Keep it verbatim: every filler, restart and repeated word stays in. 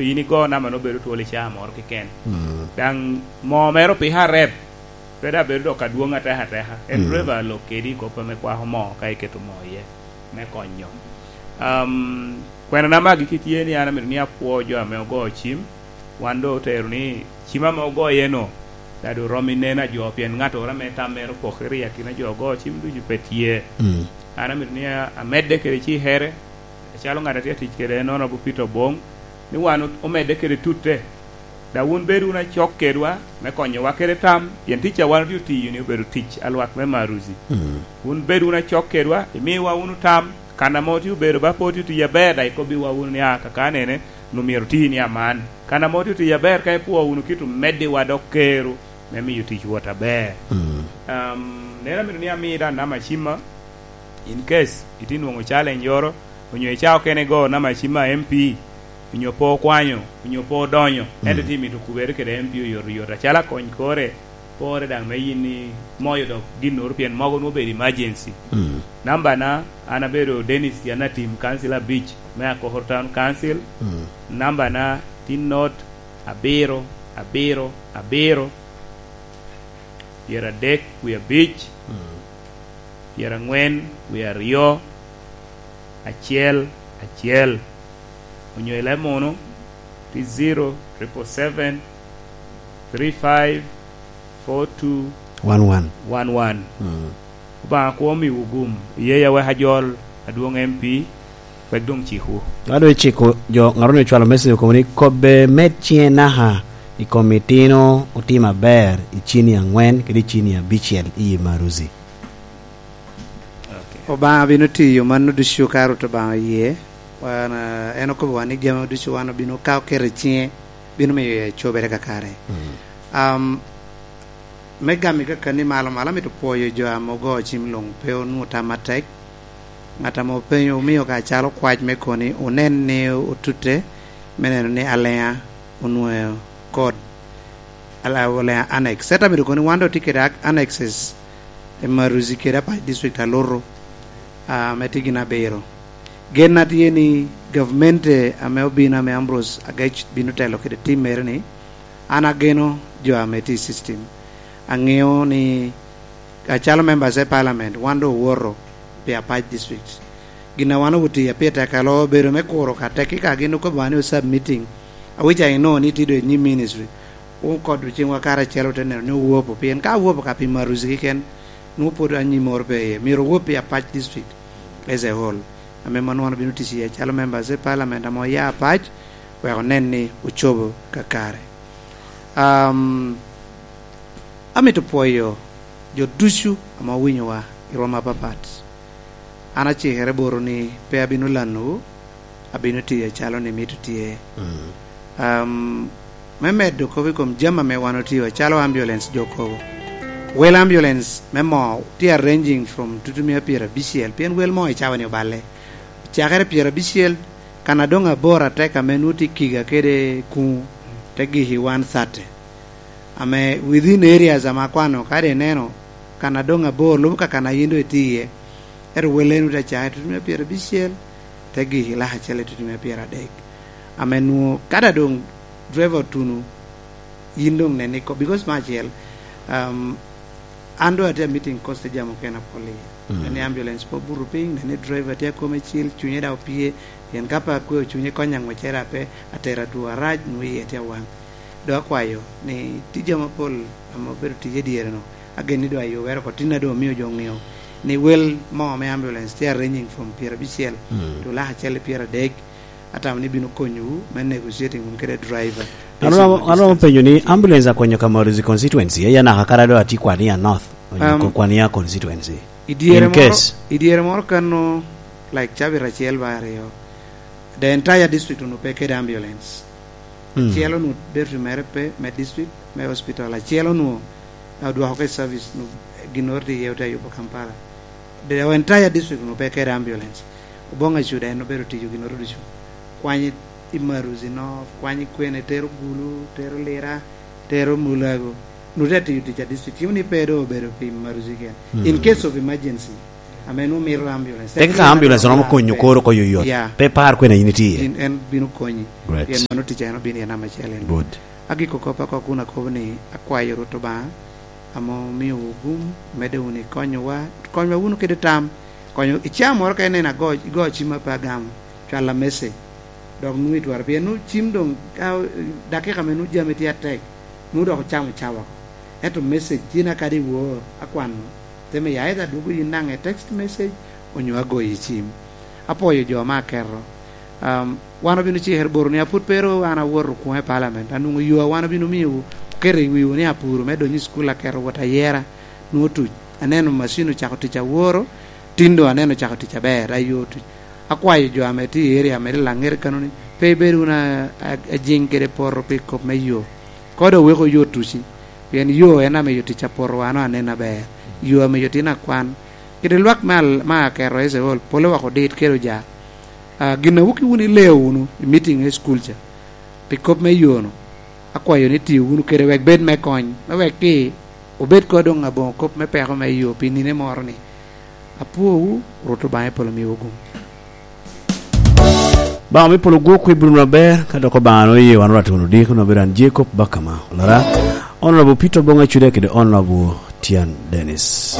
in igo namba-nu obedo twol i caa moro keken. Mm. Daŋ moo mere opiko arep, pe daŋ bedo dok adwoŋ ateka ateka. En Mm. driver lok kedi i kop ame kwako moo ka iketo moo iye me konyo. Um, kwena namba agikki tye ni an amito ni apwo jo ame ogo cim, wan doŋ otero ni cim ame ogoye-nu, daŋ doŋ rom i neno a jo, pien ŋattoro ame tam mere opokere i akina jo ogo cim ducu pe tye. Mm. An amito ni a-, amedde kede cikere, acalo ŋat a tye atic kede en Honorable Peter Obong, ni wan o-, omedde kede tutte. Daŋ wun bed wunu acok kedwa me konyowa kede tam, pien tic a wan otye otiyo-ni obedo tic a lwak me Maruzi. Mm. Wun bed wunu acok kedwa, imiwa wunu tam, kan ame otye obedo ba pe otye otiyo aber, daŋ ikobbiwa wunu ni, "A, kakanene, onwoŋo myero oti ni aman." Kan ame otye otiyo aber, ka ipwo wunu kit omeddiwa dok kero me miyo tic wot aber. Mm. Um, neno amito ni ami daŋ namba cimma, in case itye nwoŋo challenge yoro, onyo icaa okene igo namba cimma M P, onyo pe okwanyo, onyo pe odonyo, Mm. ento tye mito kubere kede M P oyotoyot, acalo akony kore, pore daŋ me yin ni moyo dok ginnoro, pien mogo nwoŋo obedo emergency. Mm. Nambana, an abedo Dennis Yanatim, council abic me Akokoro Town Council. Mm. Nambana tye not abiro, abiro, abiro, pyeradek wie abic, Mm. pyeranwen wie aryo, acel, acel. Onyo i leb munu, tye zero triple seven three five four two One one. one one. Mm. Obaŋa kwo omiwu gum, iye ya wek ajol adwoŋ M P, wek doŋ cikwu. Ado iciko jo, ŋat onyo cwalo message okobo ni, "Kobbe med ciŋe naka i kom itino otimo aber i cini aŋwen kede i cini abicel i Maruzi." Ok. Obaŋa bino tiyo mano ducu ka Rwot Obaŋa oye. Wan, ah, en okobo wan ni jami ducu wan obino ka oketo i ciŋe, bino miyo ya cobere kakare. Mm. Um, me gamo i kakani malo malo, amito pwoyo jo ame ogo cim luŋ, pe onwoŋo tam atek. Ŋat ame openyo, omio ka acalo kwac me koni, onen ni otute, me neno ni Alea onwoŋo kod Ala-, Alea Annex. Ento amito koni wan doŋ tye kede ac-, annexes i Maruzi kede Apac District alutu, ah, ame tye gin abiro. Genna tye ni gavmente ame obino, ame Ambrose Agec bino telo kede tim mere ni, an ageno jo ame tye i system. Aŋeo ni acalo members of parliament, wan doŋ owoto pi Apac District. Gin a wan owuti a pire tek alo obedo me kuro ka tek, ka gin okobo ni osubmitting, a which I know ni tye doŋ i nyim ministry. Wun kodwu ciŋwa karacel ote neno ni owopo, pien ka owopo ka pi Maruzi keken, nwoŋo pwod anyim moro pe iye. Myero owop pi Apac District as a whole, ame mano wan obino tic iye calo members of parliament ame oya Apac, wek onen ni ocobo kakare. Um, amito pwoyo jo ducu ame owinyowa i rwom apapat. An acikere botwu ni pe abino lanowu, abino tiyo acalo ni mito tye. Mm. Um, me medo kop i kom jami ame wan otio, acalo ambulance jo kobo. Wel ambulance me moo tye arranging from tutumia pyerabicel, pien wel moo i cawa-ni oballe. Cakere pyerabicel, kan a doŋ abor atek ame nwoŋo tye Kiga kede Kuŋu, te giki one thirty. Ame within areas ame akwano, kadi ineno, kan a doŋ abor lubo ka kan a yin doŋ itye iye. Ento wel eno te cakere tutumia pyerabicel, te giki lak acel i tutumia pyeradek. Ame nwoŋo, kadi a doŋ driver otuno, yin doŋ nen ni ko-, because me acel, um, an doŋ atye a meeting cost jam okene apol iye. Mm. Nen ni ambulance pe obuto piny, nen ni driver tye akome cil, cunye daŋ opye, pien ka pe akweo cunye konya ngwecere ape, atero atwo arac, nwoŋo iye tye awaŋ. Doŋ akwayo ni tye jami apol ame obedo tic i dyere-nu, agen ni doŋ ayubere oko, tin a doŋ omio jo oŋeo ni wel mo me ambulance tye arranging from pyerabicel, Mm. to lak acel i pyeradek, atamo ni bino konyowu me negotiating wun kede driver. An wan, an wan penyo ni ambulance akonyo ka Maruzi constituency, eye naka kara do ati Kwania North, onyo Um, ko-, Kwania constituency. I dyere In moro, case. I dyere moro kano, like, cabit acel ba aryo, the entire district onwoŋo pe kede ambulance. Hmm. Acel onwoŋo battery mere pe, me district, me hospital. Acel onwoŋo, eh, odwoko ke service, onwoŋo ginnoro tye iye, ote yubo Kampala. The entire district onwoŋo pe kede ambulance. Oboŋa Cuda en obedo tiyo ginnoro ducu. Kwanyo i Maruzi North, kwanyo i kwene, tero Gulu, tero Lira, tero Mulago. Onwoŋo tye atiyo tic a district. Cimo ni pe doŋ obedo pi Maruzi keken. Hmm. In case of emergency, Ame nwoŋo mito ambulance. Tek ka ambulance romo konyo koro oko yoyot. Yeah. Pe par kwena in itye iye. In, en bino konyi. Great. Pien mano ticca en obino iye namba acel en. Good. Agiko kop oko kun akobo ni akwayo Rwot Obaŋa ame omiowu gum, medde wunu i konyowa, konywa wunu kede tam, konyo i caa moro ka ineno ago, igo cim a pe agamo, cwalla message. Dok nwoŋo itwero, pien nwoŋo cim doŋ, ka, dakika ame nwoŋo jami tye atek, nwoŋo dok ocamo cawa oko. Ento message tye na kadi iwor akwano, te miyo either dwogo yin naŋ e text message, onyo agoyi cim. Apwoyo jo me aketo. Um, wan obino cikere botwu ni apwod pe ru an awoto okwoŋo i parliament, anwoŋo yo a wan obino miyowu, oketo i wiwu ni apuro me donyo i cukul aketo wot ayera, nwoŋo tuc. Aneno macin ocako tic aworo, tin doŋ aneno ocako tic aber, ayo tuc. Akwayo jo ame tye i area ame tye Laŋet kano ni, pe ibed wunu a-, a-, ajiŋ kede poto pi kop me yo. Kodo weko yo tuci, pien yo en ame yo tic apoto wan aneno aber. Yo ame yo tin akwan. Kede lwak me al-, me aketo Icrael, pole wok odit kede oja. Ah, gin a wok wunu ileo wunu i meeting i school ca, pi kop me yo-nu, akwayo ni tiyo wunu kede wek bed me kony, me wek ki obed kodo doŋ aboŋo kop me peko me yo pi nine moro ni. Apwowu, Rwot Obaŋa i polo miwu gum. Obaŋa me polo gwok kwe bino aber, ka dok Obaŋa no ye wan oratino di, kono bedo an Jacob Bakama, olara, Honorable Peter Bonga Cude kede Honorable Tian Dennis.